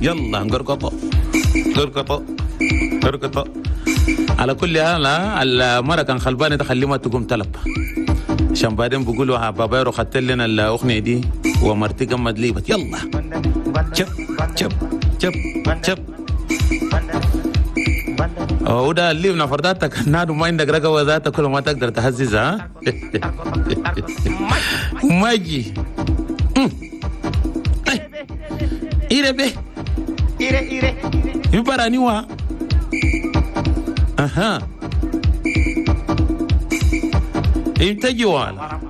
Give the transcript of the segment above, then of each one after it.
يلا قرقطة قرقطة قرقطة. على كل حال المرة كان خلبانة تخلي ما تقوم تلب، عشان بعدين بيقولوا بابا يرو خدت لنا الأغنية دي ومرتي قمد ليبت. يلا شب شب شب شب وده اللي نفرداتك نادو ما عندك رقبة ذاتك كل ما تقدر تهززها. ماجي إيربي يبراني وا أها إنتجي والا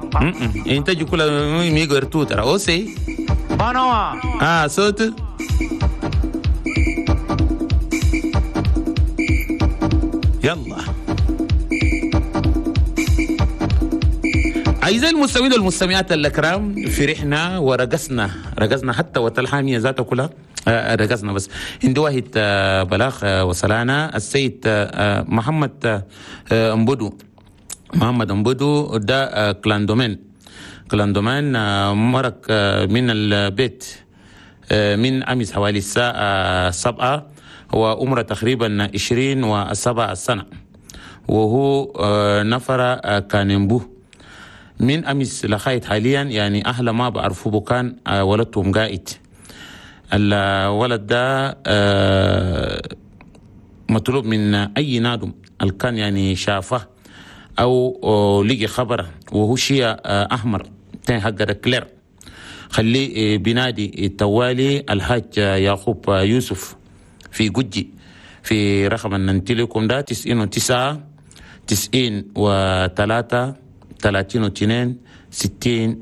إنتجي كل ميغر توتر أوسي آه صوت يلا. أعزائي المستمعين والمستمعات الأكرام، فرحنا ورقصنا رقصنا حتى وتلحامية ذاتها كلها رقصنا. بس عندي واحد بلاغ وصلنا السيد محمد أمبودو. محمد أمبودو ده clando clando مرق من البيت من أمس حوالي الساعة 7، هو عمره تقريبا 27 سنة، وهو نفر كانمبو من أمس لغاية حاليا. يعني أهل ما بعرفه بكان ولدتهم قائد. الولد ده مطلوب من أي نادم الكان يعني شافه أو لقي خبره وهو شيء أحمر تاني حق كلير، خليه بنادي التوالي الحاج يعقوب يوسف في جوجي في رقم الننتليكم ده 99 93 32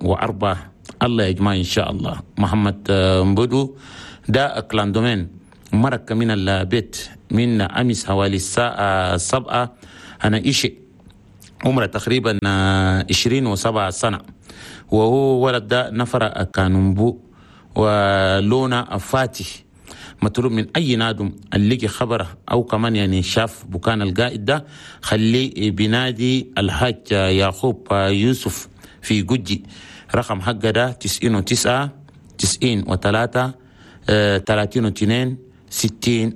64. الله يجمع إن شاء الله. محمد مبدو ده كلاندومين مرك من البيت من أمس حوالي الساعة 7. أنا إيشي عمره تقريبا 27 سنة، وهو ولد ده نفر كانومبو ولونه فاتح. مطلوب من أي نادم اللي لقي خبره أو كمان يعني شاف بكان القائد ده خليه بنادي الحاج يعقوب يوسف في جوجي. رقم حقه ده 99 93 32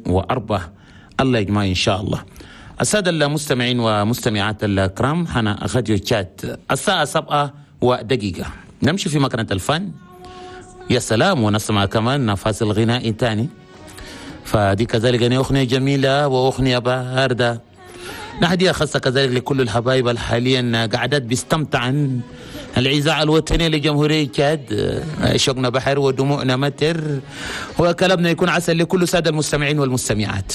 64. الله يجمع إن شاء الله. السادة المستمعين ومستمعات الكرام، حنا راديو تشات الساعة 7:01. نمشي في مكانة الفن، يا سلام، ونسمع كمان فاصل غنائي تاني. فدي كذلك يعني أغنية جميلة وأغنية باردة. نهدية خاصة كذلك لكل الحبايب الحاليا قعدات بيستمتعن الإذاعة الوطنية لجمهورية تشاد. شوقنا بحر ودموعنا متر، وكلامنا يكون عسل لكل سادة المستمعين والمستمعات.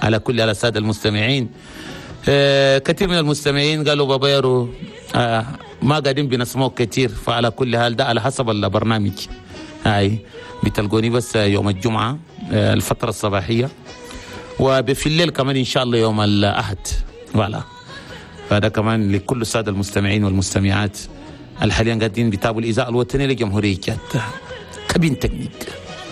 على كل على السادة المستمعين، كثير من المستمعين قالوا بابا يارو ما قاعدين بنسمعه كثير. فعلى كل حال ده على حسب البرنامج. هاي بتلقوني بس يوم الجمعة الفترة الصباحية، وفي الليل كمان إن شاء الله يوم الأحد. voilà فهذا كمان لكل السادة المستمعين والمستمعات الحاليا قاعدين بيتابعوا الإذاعة الوطنية لجمهورية تشاد. cabine technique.